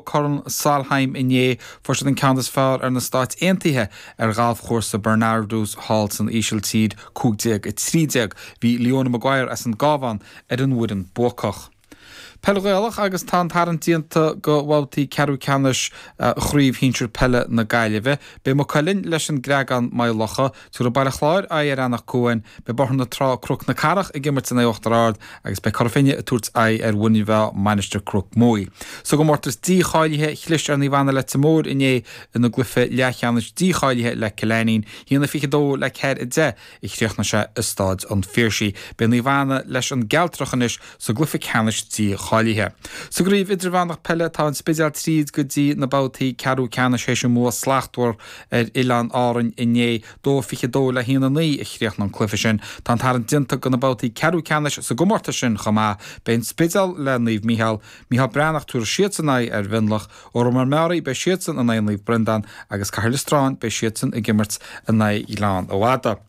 Corn Solheim inné, fuair siad an ceann is fearr ar na Stáit Aontaithe ar ghalfchúrsa Bernardus thall san Ísiltír, 15-13. Bhí Leona Maguire as an gCabhán ar an bhfoireann buacach. Peil Ghaelach agus tá an tarraingt déanta go bhabhtaí ceathrú ceannais Chraobh Shinsir Peile na Gaillimhe. Beidh Maigh Cuilinn leis an gCreagán, Maigh Locha. Tabharfaidh Baile Chláir aghaidh ar Eanach Cuain, beidh Bóthar na Trá, Cnoc na Cathrach ag imirt in aghaidh Uachtar Ard agus beidh Cora Finne ag tabhairt aghaidh ar Mhuine Mheá, Mainistir Cnoc Muaidh. Sa gcomórtas dícháilithe, chlis ar Naomh Anna Leitir Móir inné ina gcluiche leathcheannais dícháilithe le Cill Ainnín, 1-22 le 4-10 a chríochnaigh sé i Stáid an Phiarsaigh. Beidh Naomh Anna leis an gCealtrach anois sa gcluiche ceannais dícháilithe. Sa gcraobh idirmheánach peile tá an Spidéal tríd go dtí na babhtaí ceathrú ceannais théis a mbua slachtmhar ar Oileáin Árainn inné, 2-22 le 1-9 a chríochnaigh an cluiche sin. Tá an tarraingt déanta do na babhtaí ceathrú ceannais sa gcomórtas sin chomh maith. Beidh an Spidéal le Naomh Mícheál, Micheál Breathnach tabharfaidh siadsan aghaidh ar Mhionlach, Órán Mór Meáraí beidh siadsan in aghaidh Naomh Breandán agus Cathair Loistreáin beidh siadsan ag imirt in aghaidh Ghleann an Fhada.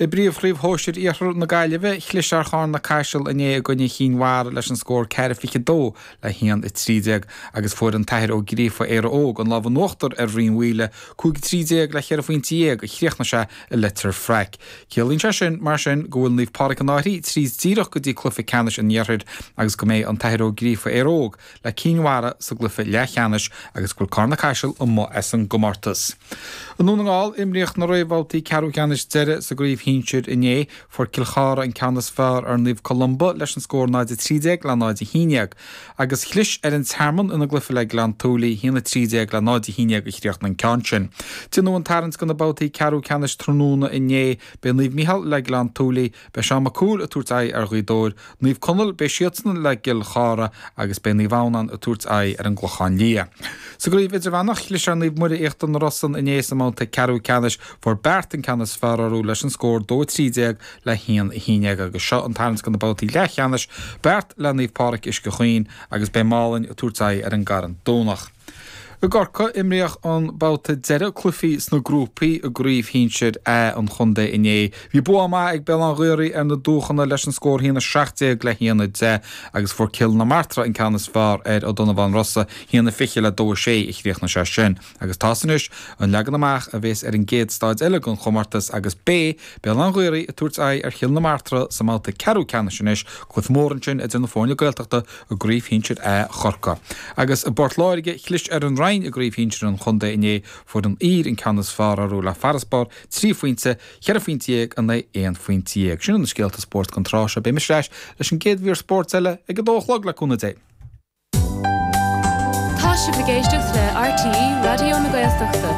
I bPríomhchraobh Shóisir Iarthar na Gaillimhe, chlis ar Charna Caiseal inné i gcoinne Chinn Mhara leis an scór 4-22 le 1-13 agus fuair an tAthair Ó Gríofa Éire Óg an lámh in uachtar ar Rinn Mhaoile, 5-13 le cheithre phointe dhéag a chríochnaigh sé i Leitir Fraic. Ciallaíonn sé sin, mar sin, go bhfuil Naomh Pádraig an Fhairche tríd díreach go dtí cluiche ceannais an Iarthair agus go mbeidh an tAthair Ó Gríofa Éire Óg le Cinn Mhara sa gcluiche leathcheannais agus go bhfuil Carna Caiseal amuigh as an gcomórtas. I nDún na nGall, imríodh na réamhbhabhtaí ceathrú ceannais deiridh sa gcraobh shinsir inné. Fuair Cill Chartha an ceann is fearr ar Naomh Columba leis an scór 0-13 le 0-11 agus chlis ar an Tearmann ina gcluiche le Gleann tSúilí, 1-13 le 0-11 a chríochnaigh an ceann sin. Déanadh an tarraingt do na babhtaí ceathrú ceannais tráthnóna inné. Beidh Naomh Micheál le Gleann tSúilí, Beidh Seán Mac Cumhaill ag tabhairt aghaidh ar Ghaoth Dobhair, Naomh Conaill, beidh siadsan le Cill Chartha agus beidh Naomh Adhamhnáin ag tabhairt aghaidh ar an gClochán Liath. Sa gcraobh idirmheánach, chlis ar Naomh Muire Íochtar na Rosann inné sa mbabhta ceathrú ceannais. Fuair Beart an ceann is fearr orthu leis an scór 2-13 le 1-11 agus seo an tarraingt do na babhtaí leathcheannais, Beart le Naomh Pádraig Uisce Chaoin agus beidh Málainn ag tabhairt aghaidh ar an gCarn Domhnach. I gCorcaigh, imríodh an babhta deiridh cluichí sna grúpaí i gCraobh Shinsir A an chontae inné. Bhí bua maith ag Béal Átha an Ghaorthaidh ar na Dúchana leis an scór 1-17 le 1-10 agus fuair Cill na Martra an ceann is fearr ar Ó Donnabháin Rosa, 1-20 le 2-6 a chríochnaigh sé sin. Agus tá's anois an leagan amach a bhéas ar an gcéad staid eile den chomórtas agus beidh Béal Átha an Ghaorthaidh ag tabhairt aghaidh ar Chill na Martra sa mbabhta ceathrú ceannais anois, cluiche mór ansin idir na foirne Gaeltachta i gCraobh Shinsir A Chorcaí. Agus i bPort Láirge, chlis ar an Rinn i gCraobh Shinsir an chontae inné, fuair an Aoir an ceann is fearr orthu le farasbarr 3 phointe, 14 phointe in aghaidh 11 phointe. Sin iad na scéalta spóirt don tráth seo. Beidh mise ar ais leis an gcéad mhír spóirt eile ag a dó a chlog le cúnamh Dé. Tá sibh ag éisteacht le RTÉ Raidió na Gaeltachta.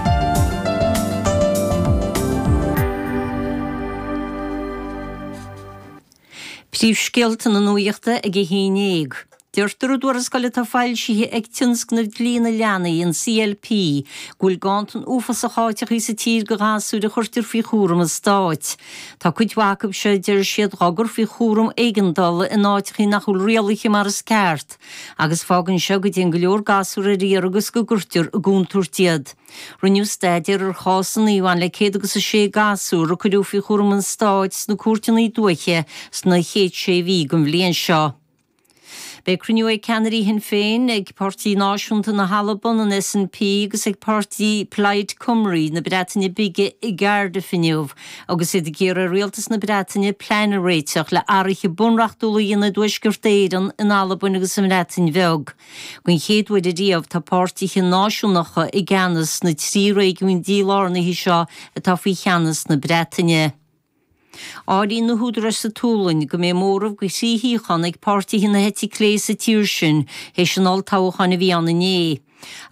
Príomhscéalta na nuachta ag a haon dhéag. Deirtear i dtuarascáil atá foilsithe ag Tionscnamh Dlí na Leanaí, an CLP, go bhfuil ganntan uafásach áiteachaí sa tír do ghasúir a chuirtear faoi chúram an stáit. Tá cuid mhaith acu seo, a deir siad, dhá gcur faoi chúram éigeandála in áiteachaí nach bhfuil rialaithe mar is ceart, agus fágann seo go dtéann go leor gasúr ar iarraidh agus go gcuirtear i gcontúirt iad. Rinneadh staidéar ar chásanna a bhain le 106 gasúr a cuireadh faoi chúram an stáit sna cúirteanna dúiche sna chéad sé mhí den bhliain seo. Beidh cruinniú ag ceannairí Shinn Féin, ag Páirtí Náisiúnta na hAlban, an SNP, agus ag páirtí Plaid Cymru na Breataine Bige i gCardiff inniu agus iad ag iarraidh ar Rialtas na Breataine plean a réiteach le athruithe bunreachtúla a dhéanamh i dTuaisceart Éireann, in Albain agus sa mBreatain Bheag. Den chéad uair ariamh tá páirtithe náisiúnacha i gceannas sna 3 réigiún dílárnaithe seo atá faoi cheannas na Breataine. Áiríonn na húdaráis sa tSualainn go mbeidh móramh de thrí shuíochán ag páirtithe na heite clé sa tír sin théis an olltoghcháin a bhí ann inné.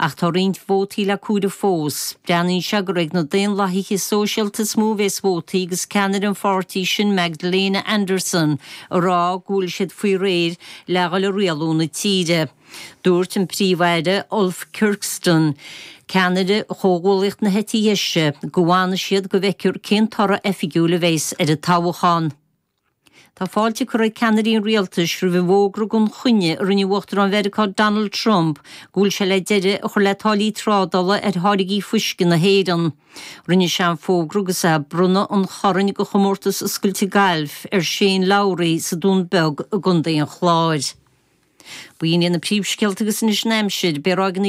Ach tá roinnt vótaí le comhaireamh fós. Breathnaíonn sé gur ag na Daonlathaithe Sóisialta is mó a bheas vótaí agus ceannaire an pháirtí sin Magdalena Andersson ag rá go bhfuil siad faoi réir le dhul ag rialú na tíre. Dúirt an Príomh-Aire Ulf Kirsten, ceannaire Chomhghuallaíocht na heite dheise, go bhfanfaidh siad go bhfeicfear cén toradh oifigiúil a bheas ar an toghchán. Tá fáilte curtha ag ceannairí an rialtais roimh an bhfógra gan choinne a rinne Uachtarán Mheiriceá Donald Trump go bhfuil sé le deireadh a chur le táillí trádála ar tháirgí fuisce na hÉireann. Rinne sé an fógra agus é ag bronnadh an choirn do chomórtas oscailte gailf ar Shane Lowry sa Dún Beag i gContae an Chláir. B'in iad na príomhscéalta agus anois an aimsir. Beidh ráigeanna.